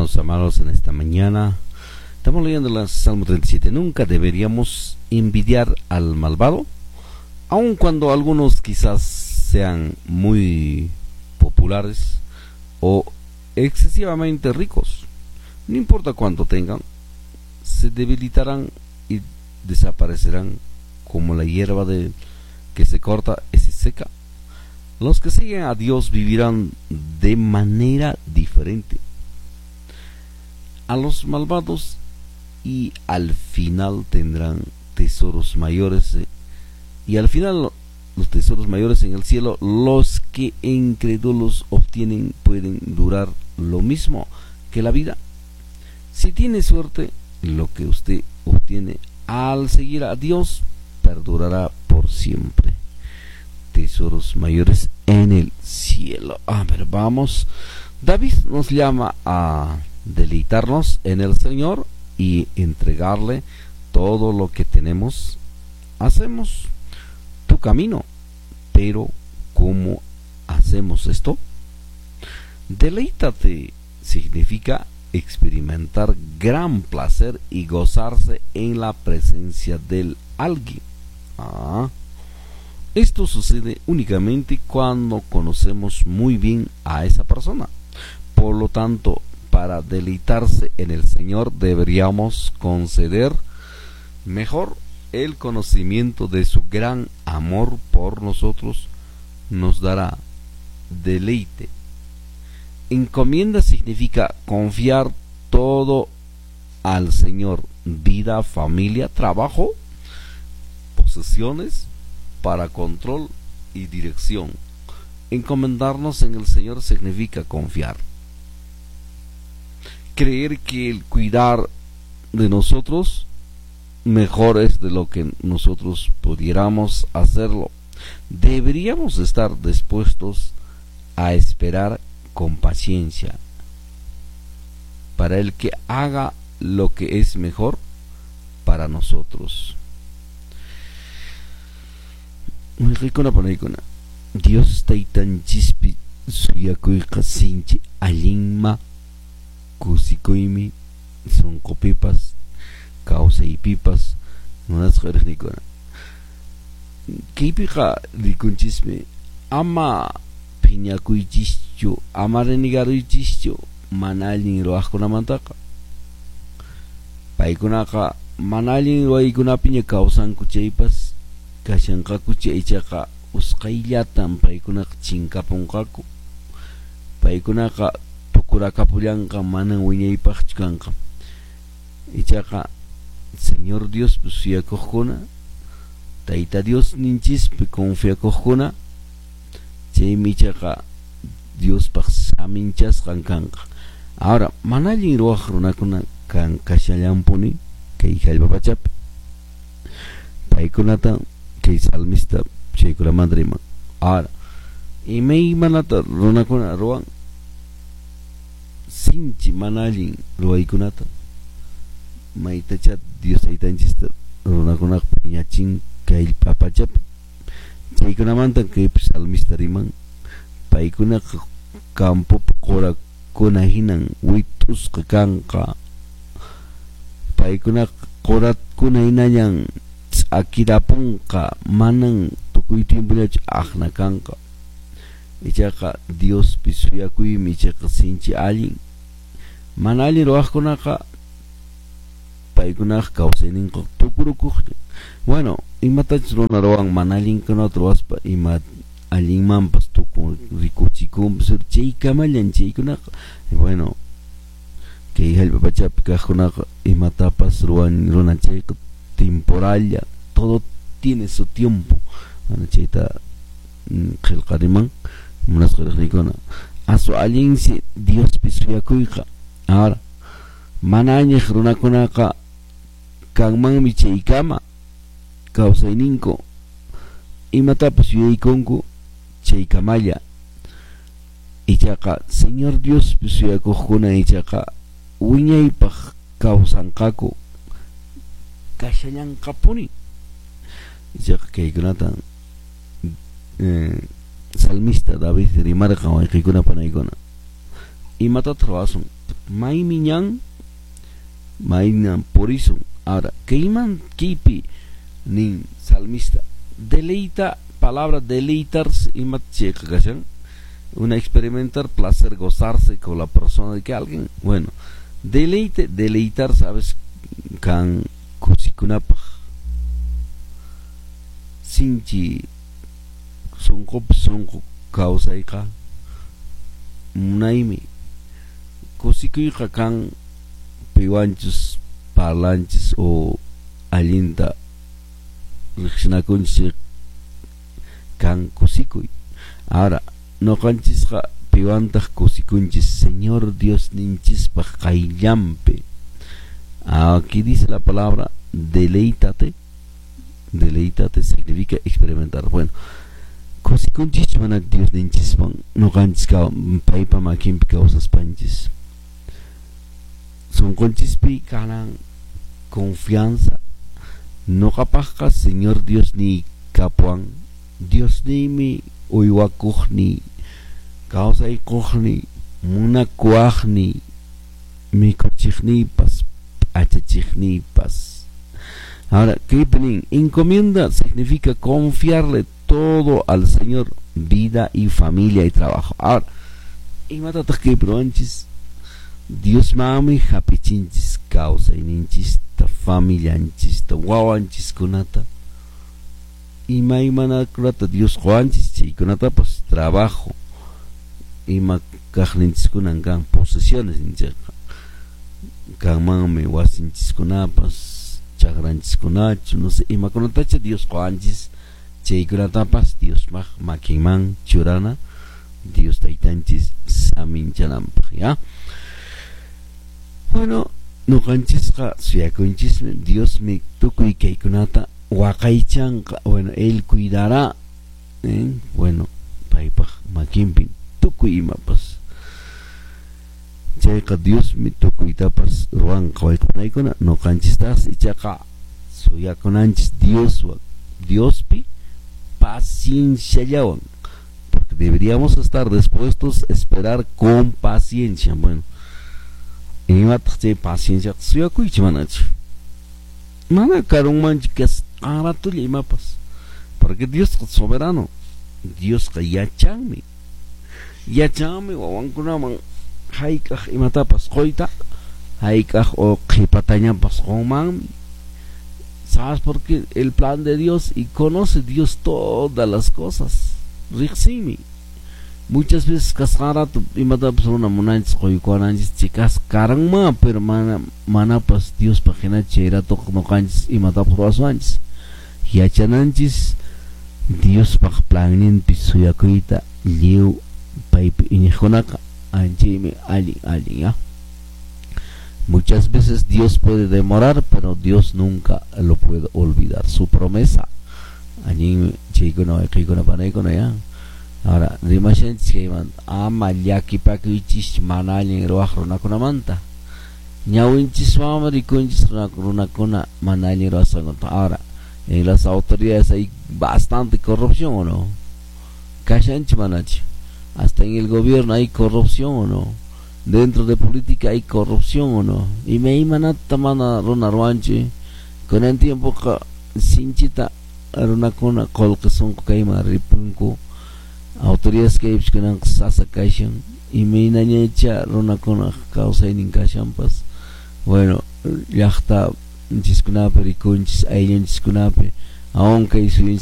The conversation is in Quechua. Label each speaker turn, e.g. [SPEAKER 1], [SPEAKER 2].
[SPEAKER 1] Hermanos amados, en esta mañana estamos leyendo el Salmo 37. Nunca deberíamos envidiar al malvado, aun cuando algunos quizás sean muy populares o excesivamente ricos. No importa cuánto tengan, se debilitarán y desaparecerán como la hierba de que se corta y se seca. Los que siguen a Dios vivirán de manera diferente a los malvados y al final tendrán tesoros mayores, y al final los tesoros mayores en el cielo. Los que incrédulos obtienen pueden durar lo mismo que la vida. Si tiene suerte, lo que usted obtiene al seguir a Dios perdurará por siempre. Tesoros mayores en el cielo. A ver, vamos. David nos llama a deleitarnos en el Señor y entregarle todo lo que tenemos. Hacemos tu camino, pero ¿cómo hacemos esto? Deleítate significa experimentar gran placer y gozarse en la presencia del alguien. Esto sucede únicamente cuando conocemos muy bien a esa persona. Por lo tanto, para deleitarse en el Señor deberíamos conceder mejor el conocimiento de su gran amor por nosotros. Nos dará deleite. Encomienda significa confiar todo al Señor: vida, familia, trabajo, posesiones, para control y dirección. Encomendarnos en el Señor significa confiar, creer que el cuidar de nosotros mejor es de lo que nosotros pudiéramos hacerlo. Deberíamos estar dispuestos a esperar con paciencia para el que haga lo que es mejor para nosotros. Dios taytanchispi suyakuyqa sinchi allinma kusikuymi sunqupipas kawsaypipas munasqa riqnikuna. Kaypiqa rikunchismi ama phiñakuychischu, ama renegaruychischu mana allin ruwaqkunamantaqa. Paykunaqa mana allin ruwaykunapiña kawsanku chaypas kashanqaku ichaqa usqhayllatan paykunaqa chinkapunqaku. Paykunaqa tukurakapullanqa, manan wiñaypaqchu kanqa. Ichaqa Señor Diospi suyakuqkuna, Tayta Dios ninchispi confiakuqkuna, chaymi ichaqa Diospaq saminchasqan kanqa. Ahora, mana allin ruwaq runakuna kan kashallanpuni kay hallp'a pachapi. Paykunata kay salmista chaykunamanta riman. Ahora, imaymanata runakuna ruwan sinchi mana allin ruwaykunata, maytacha Dios taytanchista runakunaqa phiñachin kay hallp'a pachapi. Chaykunamanta kay salmista riman, paykunaqa campopi qurakuna hinan wit'usqa kanqa. Paykunaqa qurakuna hinallan ch'akirapunqa, manan tukuy tiempollachu aqna kanqa. Ichaqa Diospi suyakuymi ichaqa sinchi allin. Mana allin ruwaqkunaqa paykunaqa kawsayninqa tukurukuqlla. Bueno, imatachus runa ruwan mana allinkunata ruwaspa ima allinmanpas tukun rikuchikunpas, chaykamallan chaykunaqa. Bueno, kay hallp'a pachapi kaqkunaqa imatapas ruwan runa chayqa temporalla, todo tiene su tiempo. Bueno, chayta qillqariman munasqa riqnikuna. Asu allinsi Diospi suyakuyqa. Ahora, mana añiq runakunaqa kanmanmi chaykama kawsayninku imatapas yuyaykunku chaykamalla. Ichaqa Señor Diospi suyakuqkuna ichaqa wiñaypaq kawsanqaku, kashallanqapuni. Ichaqa kaykunata salmista David rimarqan wayqiykuna panaykuna. Imatataq ruwasun? Maymi ñan, maynan purisun. Ahora, kayman kaypi nin salmista, deleita, palabra deleitarse, ima chayqa kashan, una experimentar placer, gozarse con la persona de que alguien, bueno, deleite, deleitar, sabes, kan kusikunapaq, sinchi sunqupi sunqu kawsayqa munaymi, kusikuyqa kan piwanchus parlanchis o allinta riqsinakunchis kan kusikuy. Ahora, ñuqanchisqa piwantaq kusikunchis Señor Diosninchispaq qayllanpi. Aquí dice la palabra deleítate. Deleítate significa experimentar. Bueno, kusikunchis mana Diosninchiswan ñuqanchis paypa makinpi kawsaspanchis. Sunqunchispi kanan confianza. Ñuqapaqqa Señor Diosniy kapuwan, Diosniymi uywakuqniy, kawsaykuqniy, munakuwaqniy, mikuchiqniypas, p'achachiqniypas. Ahora, kaypi nin, encomienda significa confiarle todo al Señor, vida y familia y trabajo. Ahora, imatataq kaypi ruwanchis? Diosmanmi hap'ichinchis kawsayninchista, familianchista, wawanchiskunata, imaymanakunata Dios quwanchis chaykunatapas, trabajo, ima kaqninchiskunan kan, posesiones ninchikqa, kanmanmi wasinchiskunapas, chakranchiskunachu, no sé, imakunatacha Dios quwanchis, chaykunatapas Diospaq makinman churana, Dios taytanchis saminchananpaq, ¿ya? Bueno, ñuqanchisqa suyakunchismi, Diosmi tukuy kaykunata waqaychanqa, bueno, él cuidará, ¿eh? Bueno, paypaq makinpi tukuy imapas. Chayqa Diosmi tukuytapas ruwanqa wayq'unaykuna, ñuqanchistas ichaqa suyakunanchis Dioswan, Diospi pacienciallawan, porque deberíamos estar dispuestos a esperar con paciencia. Bueno, imataq chay paciencia suyakuychik manachu, mana karunmanchu kasqan ratulla imapas, porque Diosqa soberano, Diosqa yachanmi, yachanmi wawankunaman hayk'aq imatapas quyta, hayk'aq o qhipatañapas qunmanmi. ¿Sabes por qué? El plan de Dios, y conoce Dios todas las cosas, riqsinmi. Muchas veces kasqan rato imatapas runa munanchis quykuwananchis chikas karanman, pero mana manapas Diospaq hinachu chay ratoqa ñuqanchis imatapas ruwaswanchis. Yachananchis Diospaq planninpi suyakuyta lliw paypi iñiqkunaqa anchaymi allin allin, ¿ya? Muchas veces Dios puede demorar, pero Dios nunca lo puede olvidar. Su promesa. Allin chaykuna wayqiykuna panaykuna, ¿ya? Ahora, rimashanchis kaymanta, ama llakipakuychis mana allin ruwaq runakunamanta. Ñawinchiswanmi rikunchis runakuna mana allin ruwasqankuta. Ahora, en las autoridades hay bastante corrupción, ¿o no? Kashanchi manachu. Hasta en el gobierno hay corrupción, ¿o no? Dentro de política hay corrupción, ¿o no? Imaymanata mana runa ruwanchi. Kunan tiempoqa sinchita runakuna qullqi sunqu kayman ripunku. Autoridades kaypis kunanqa sasa kashan. Imaynañacha runakuna kawsaynin kashanpas. Bueno, llaqta nchiskunapi rikunchis, ayllunchiskunapi, aun kay suyunchis